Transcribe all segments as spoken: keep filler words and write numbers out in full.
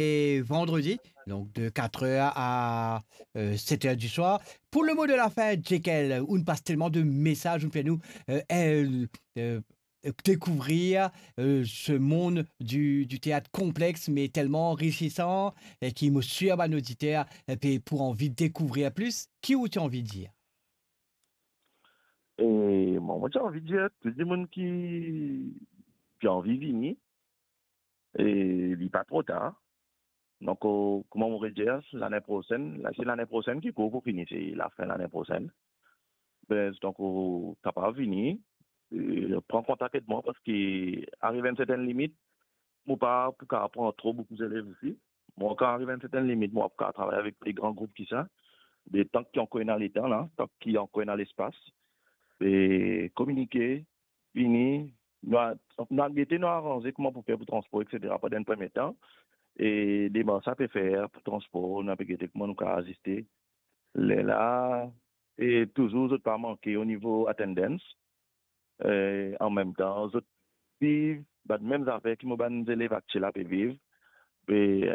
et vendredi, donc de quatre heures à, euh, sept heures du soir. Pour le mot de la fin, Jekyll, on passe tellement de messages, on fait nous, euh, euh, euh, découvrir, euh, ce monde du, du théâtre complexe, mais tellement enrichissant, et qui, mo sir, bann oditer, euh, pe pou anvi découvrir plus. Ki ou ti anvi dir? E mwa, mo ti anvi dir tou dimoun ki, ki anvi vini, e li pa tro tar. Donk, euh, kouma mo redir, lane prosenn, la, se lane prosenn ki kour pou fini, se lafin lane prosenn. Be, donk, ou kapav vini, e pran kontak ek mwa, parski ariv enn sertenn limit, mo pa pou kapav pran tro boukou zelev osi. Mo, kan ariv enn sertenn limit, mo pa pou kapav travay avek pli gran group ki sa. Be, tan ki ankor ena letan la, tan ki ankor ena lespas, e kominike, vini, nou a, nou a gete, nou a aranze kouma pou fer pou transpor, et cetera, pandan enn premie tan. E demars sa pe fer pou transpor, nou a pe gete kouma nou kapav aziste lerla, e touzour zot pa manke o nivo attendance. E an mem tan, zot viv bann mem zafer ki mo bann zelev aktiel la pe viv. E,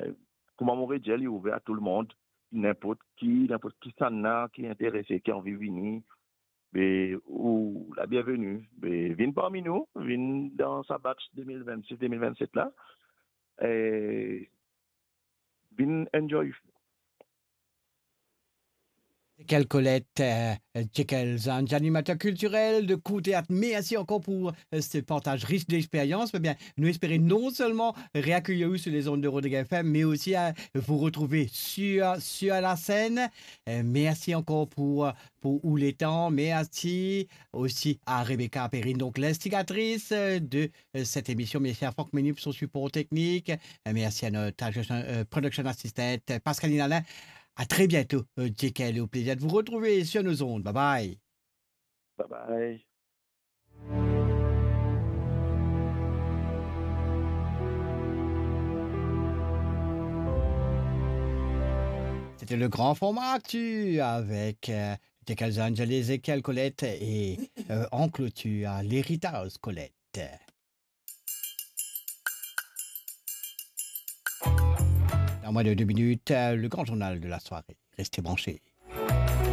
kouma mo redir, li ouver a tou lemond, ninport ki, ninport kisannla ki interese, ki anvi vini, be, ou la bienveni. Be, vinn parmi nou, vinn dan sa batch de mil vennsis, de mil vennset la. E vinn enjoy. Jekyll Collette, euh, Jekyll Zanj, animateur culturel de Cour Théâtre. Merci encore pour, euh, ce partage riche d'expérience. Eh bien, nou espere non selman reakeir ou sur les ondes de Rodrigues F M, mais aussi, euh, vous retrouver sur, sur la scène. Euh, merci encore pour, pour ou letan. Merci aussi à Rebecca Perrine, donc l'instigatrice, euh, de, euh, cette émission. Merci à Franck Menu pour son support technique. Euh, merci à notre, euh, production assistant, euh, Pascaline Alain. À très bientôt, euh, Jekyll, au plaisir de vous retrouver sur nos ondes. Bye bye. Bye bye. C'était le grand format actu avec, euh, Jekyll Zanj, Jekyll Collette et, euh, en clôture, l'héritage Collette. Dans moins de deux minutes, euh, le grand journal de la soirée. Restez branchés.